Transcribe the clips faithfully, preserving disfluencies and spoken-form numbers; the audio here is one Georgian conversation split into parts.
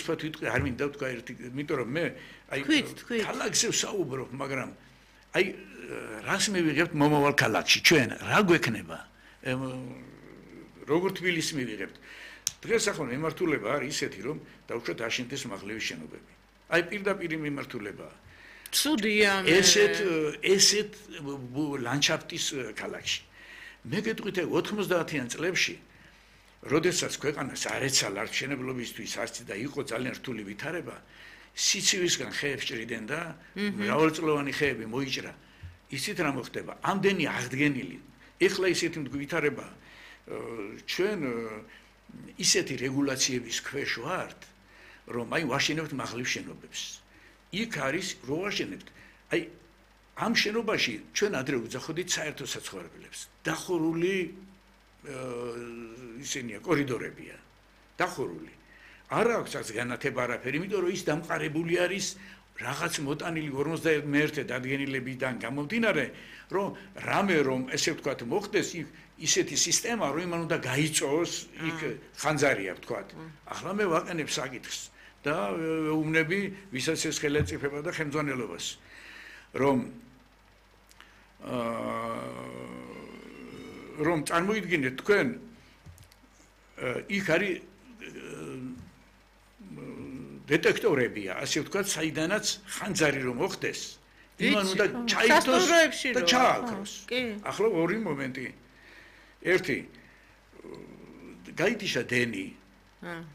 უცბად ვიტყვი, არ მინდა ვთქვა ერთი, იმიტომ რომ მე აი ქალაქზე ვსაუბრობ, მაგრამ აი რას მივიღებთ მომავალ ქალაქში ჩვენ, რა გვექნება? როგორ თბილისს მივიღებთ? დღეს ახლა მიმართულება არის ისეთი, რომ დაუშვათ აშენდეს მაღლების შენობები. აი პირდაპირ მიმართულებაა. ცუდია მე. ესეთ ესეთ ლანდშაფტის ქალაქში. მე გეტყვით ოთხმოცდაათიან წლებში, როდესაც ქვეყანას არ ეცალა არჩევნებლობისთვის არც და იყო ძალიან რთული ვითარება, სიცივისგან ხეებს ჭრიდნენ და მრავალწლოვანი ხეები მოიჭრა. ისიც რა მოხდება? ამდენი აღდგენილი. ეხლა ისეთი ვითარება ჩვენ ისეთი რეგულაციების ქვეშ ვართ, რომ აი ვაშენებთ მაღლივ შენობებს. იქ არის რო ვაშენებთ. აი ამ შენობაში ჩვენ ადრე ვძახოდით საერთო საცხოვრებლებს. დახურული ისინია კორიდორებია. დახურული. არ აქვს აქ განათება არაფერი, იმიტომ რომ ის დამყარებული არის რაღაც მოტანილი ორმოცდაერთე დადგენილებიდან გამომდინარე, რომ რამე რომ ესე ვთქვათ მოხდეს, იქ ისეთი სისტემა, რომ იმან უნდა გაიწოს, იქ ხანძარია ვთქვათ. ახლა მე ვაყენებ საკითხს და ვეუბნები ვისაც ეს ხელისუფლება და ხელმძღვანელობას, რომ რომ წარმოიდგინეთ თქვენ იქ არის დეტექტორებია, ასე ვთქვათ, საიდანაც ხანძარი რომ მოხდეს, იმან უნდა ჩაითოს და ჩააქროს. ახლა ორი მომენტი. ერთი გაითიშა დენი.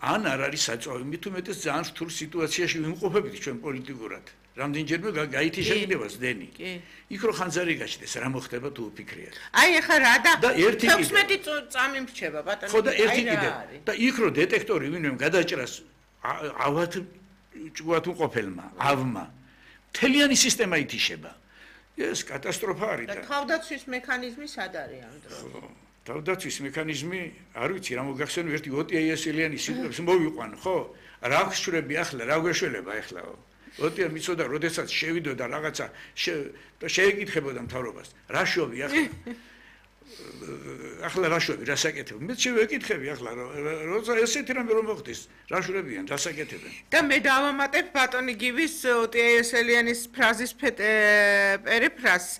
ან არ არის საწვავი, მით უმეტეს ძალიან რთულ სიტუაციაში ვიმყოფებით ჩვენ პოლიტიკურად. რამდენჯერმე გაითიშა კიდევაც დენი. იქ რო ხანძარი გაჩნდეს, რა მოხდება თუ ვფიქრიათ. აი ახლა რა და ექვსმეტი წამი მრჩება ბატონო. ხო და ერთი კიდე. და იქ რო დეტექტორი ვინმე გადაჭრას ავად ჭუათ უყოფელმა, ავმა. მთლიანი სისტემა ითიშება. ეს კატასტროფა არის და თავდაცვის მექანიზმი სად არის ამ დროს? თავდაცვის მექანიზმი, არ ვიცი რა მოგახსენე, ერთი ოტია იასელიანი სიტყვებს მოვიყვან, ხო? რა გშვრები ახლა, რა გვეშველება ახლა? ოტია მიცოდა, როდესაც შევიდოდა რაღაცა და შეეკითხებოდა მთავრობას, რა შოვი ახლა? ახლა რა შევი, რა საკეთებ? მე შევეკითხები ახლა, როცა ესეთი რამე რომ მოხდეს, რა შვრებიან, რა საკეთებენ? და მე დავამატებ ბატონი გივის ოტია იასელიანის ფრაზის პერიფრაზს.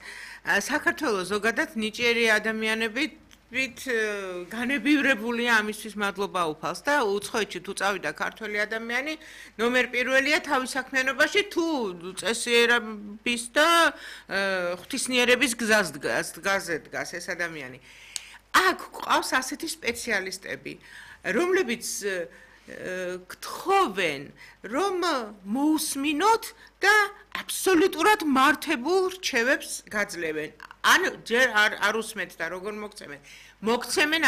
საქართველოს ზოგადად ნიჭიერი ადამიანები ვით განებივრებულია ამისთვის მადლობა უფალს და უცხოეთში თუ წავიდა ქართველი ადამიანი ნომერ პირველია თავის საქმიანობაში თუ წესიერების და ღვთისმიერების გზაზე დგას ეს ადამიანი. აქ ყავს ასეთი სპეციალისტები, რომლებიც გთხოვენ, რომ მოусმინოთ და აბსოლუტურად მართებულ რჩევებს გაძლევენ. ან ჯერ არ არ უსმენთ და როგორ მოგცემენ? მოგცემენ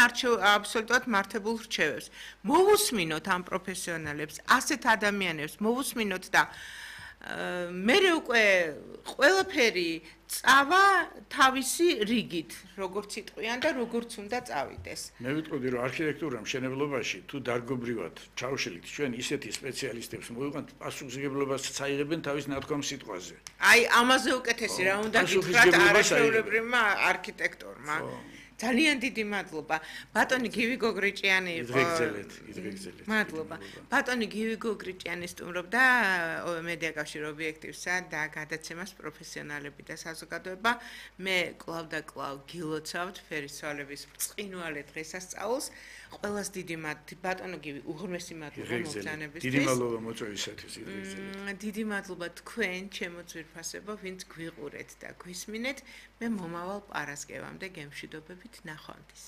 აბსოლუტურად მართებულ რჩევებს. მოусმინოთ ამ პროფესიონალებს, ასეთ ადამიანებს, მოусმინოთ და მე უკვე ყველაფერი წავა თავისი რიგით, როგორც იტყვიან და როგორც უნდა წავიდეს. მე ვიტყოდი, რომ არქიტექტურა მშენებლობაში თუ დარგობრივად ჩავშლით ჩვენ ისეთი სპეციალისტებს მოვიყვანთ, პასუხისმგებლობას წაიღებენ თავის ნათქვამ სიტყვაზე. აი, ამაზე უკეთესი რა უნდა გითხრათ არაჩვეულებრივმა არქიტექტორმა. ძალიან დიდი მადლობა. ბატონი გივი გოგრიჭიანი იყო. იდრეგზელეთ, იდრეგზელეთ. მადლობა. ბატონი გივი გოგრიჭიანი სტუმრობდა მედია კავშირ ობიექტივსა და გადაცემას პროფესიონალები და საზოგადოება. მე კლავ და კლავ გილოცავთ ფერისცვალების ბრწყინვალე დღესასწაულს. ყველას დიდი მადლობა. ბატონო გივი უღრმესი მადლობა მოგზაურობისთვის. დიდი მადლობა მოწვევისათვის, იდრეგზელეთ. დიდი მადლობა თქვენ, ჩემო ძვირფასებო, ვინც გვიყურეთ და გვისმინეთ. მე მომავალ პარასკევამდე გემშვიდობებით ნახვამდის.